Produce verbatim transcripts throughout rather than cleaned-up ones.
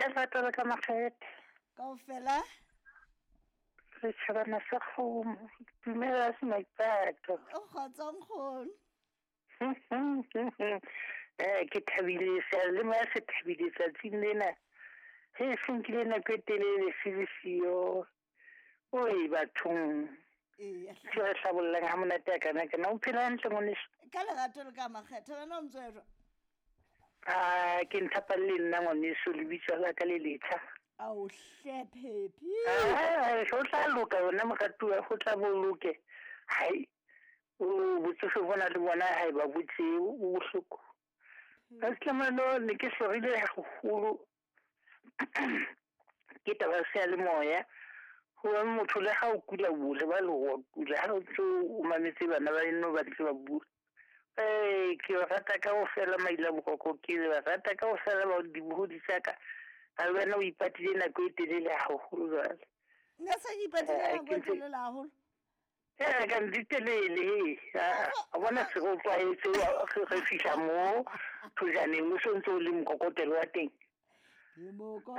Ka lerato la ka makgethe. Kaofela. Setjhabana sa kgomo. Dumela se maipato. O kgotso nkgono. Eh ke thabile seyalemoya se thabile tsatsing lena. He se nkile nako e telele se le siyo. Oi bathong. Eya. Se re hlabollang ha monate a kana kana. O phela hantle ngwaneso? Ka lerato le ka makgethe wena o ntso e jwang? Ah, ke nthapalle nna ngwaneso lebitso la ka le letjha. Ao hle Phephi. Ah, ho tla loka yona moratuwa, ho tla bo loke. Hai, o botsofe bona le bona ha ba botse o bohloko. Ka tlamelo ne ke hlorile haholo. Ke taba ya seyalemoya. Ho motho le ha o kula o le ba le wa kula ha o ntso o mametse bana ba eno ba ntse ba bua. Eh, ke ba rata kaofela maila boroko, ke ba rata kaofela ba dibohodi tsa ka. Ha le wena o ipatile nako e telele haholo jwale. Nna se ke ipatile nako e telele haholo. Eh, ka di telele he. A bona se go tlwaetse re fihla mo thojaneng o sontse o le mokokotelo wa teng.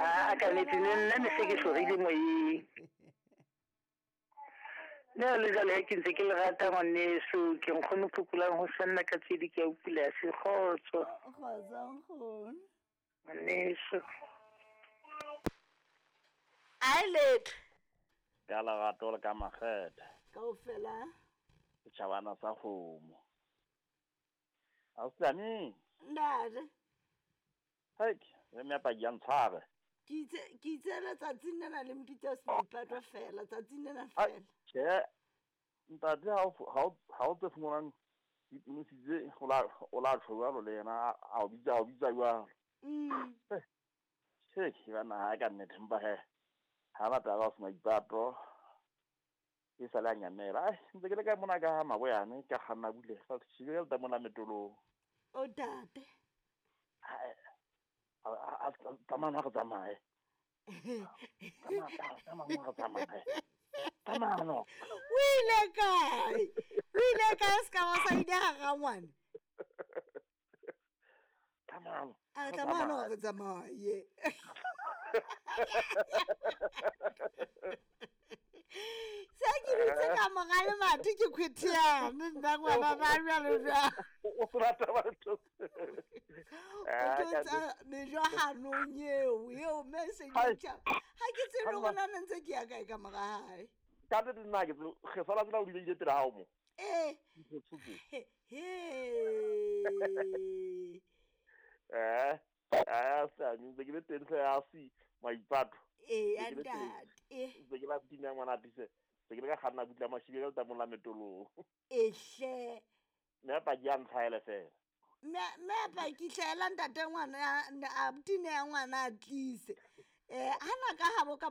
Ah, ka nnete nna ne se ke hlorile moyeng. Le le jwale ke ntse ke le rata ngwaneso, ke nkgono phokolang ho sanna ka tse di ke a upula se kgotso. Kgotso nkgono. Ngwaneso. Ai letho. Ka lerato le ka makgethe. Kaofela. Setjhabana sa kgomo. Ausiane. Ntate. Hei, re mme paki ya ntshware. Ke itse ke itse letsatsing lena le mpitsa seipato fela, tsatsing lena fela. Tjhe, ntate ha o ha o tse fumanang dipunositse o la o la tjho jwalo le yena a o bitsa o bitsa jwalo. Mm. Tjhe, ke bana ha ka nnete mpa he. Ha batla ba se maipato. E sale a nyamela. Ai, ntse ke le ka mona ka ha maboyane ka kganna bule. Fa ke le ta mona metolong. O tate. A tsamaya re tsamaye. Tsamaya tsamaya re tsamaye. Tsamaya no. O ile kae? O ile kae se ka ba sa ile ha rangwane? Tsamaya. A tsamaya no re tsamaye. Se ke bitse ka mora le mathe ke khwethiane nna ngwana ba jwalo jwang. O rata batho. O tsa mejo hanong eo eo message ya. Ha ke tsebe hore na ntse ke ya kae ka mora hae. Ka nnete nna ke re sala tsela o di pele hao mo. Eh. He. Eh. Ah, sa ntse ke le teng se a si maipato. Eh, ntate. Eh. Ntse ke la tina ngwana tise. Se ke le ka kganna butla mashibe ka letamong la metolong. Eh hle. Mme paki ya ntlhaele fela. Mme mme paki hlaela ntate ngwana a tine ya ngwana a tlise. Eh, hana ka habo ka